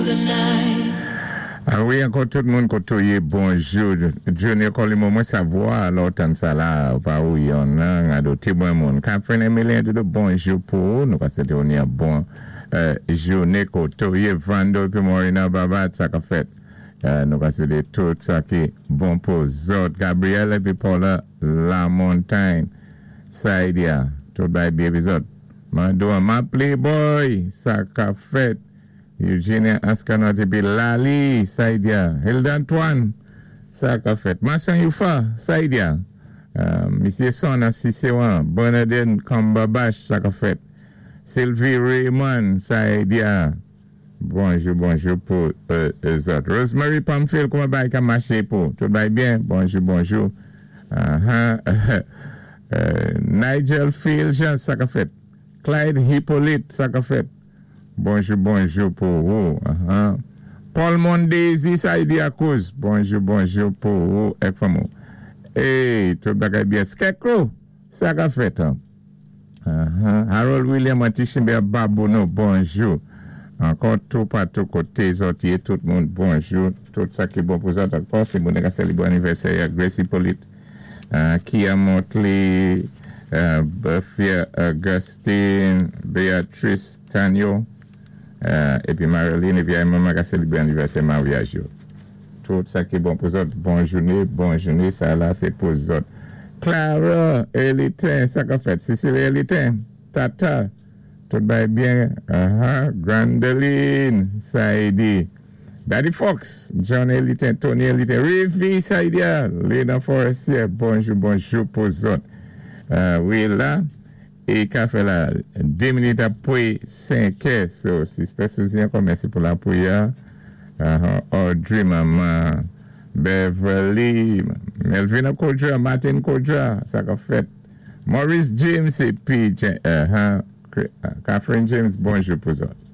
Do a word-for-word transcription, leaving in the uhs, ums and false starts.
the night. Ah wi, ankò tout moun koté ou yé, bonjou. Junior Colimo, mwen savwa, lò tan sa la, ou pa ou yon nan, ado ti bon moun. Catherine Emilien, doudou, bonjou pou ou. Nou ka swété ou ni yon bon euh, jouné koté ou yé. Vando pi Morina Babat, sa ka fèt. Euh, nou ka swété tout sa ki bon pou zòt. Gabriel épi Paula La Montagne, Saidia, tout bay byen pi zòt. Mando ma playboy, sa ka fèt. Eugenia Askanot épi Lali, Saidia. Hilda Antoine, sa ka fèt. Massan Yufa, Saidia. Euh, Misyé Son Sisewan, Bernadine Kambabash, sa ka fèt. Sylvie Raymond, Saidia. Bonjou, bonjou pou euh, zòt. Rosemary Pamphile, kouman bay ka maché pou? Tout bay byen? Bonjou, bonjou. Uh-huh. euh, Nigel Phil Jean, sa ka fèt. Clyde Hippolyte, sa ka fèt. Bonjou, bonjou pou ou. Uh-huh. Paul Mondesi, Saidia Cruz. Bonjou, bonjou pou ou. Ek famou. Hey, tout bagay byen. Scarecrow, sa ka fèt. Hein? Uh-huh. Harold William Antichimbe Babouno, bonjou. Ankò tout patou koté zòt yé, tout moun, bonjou. Tout sa ki bon pou zòt ankò. Si moun ka sélébwé anivèsè, Gracie Hippolyte, uh, Kia Motley, uh, Buffy Augustine, Beatrice Tanyo, uh, épi Marilyn, épi maman ka sélébwé anivèsè maryaj yo. Tout sa ki bon pou zòt, bon jouné, bon jouné, sa la sé pou zòt. Clara Elitin, sa ka fèt. Cécile Elitin, Tata, tout bay byen. Uh-huh. Grandeline, Saidi. Daddy Fox, John Elitin, Tony Elitin, Rivi Saidia, Lena Forestier, bonjou, bonjou pou zòt. Uh, wi la, é ka fè la, dé minit apwé senk è, so Sister Suzy ankò mèsi pou lapwiyè. Uh, Audrey, Maman, Beverly, Melvina Kodra, Martin Kodra, sa ka fèt. Maurice James épi uh, uh, Catherine James, bonjou pou zòt.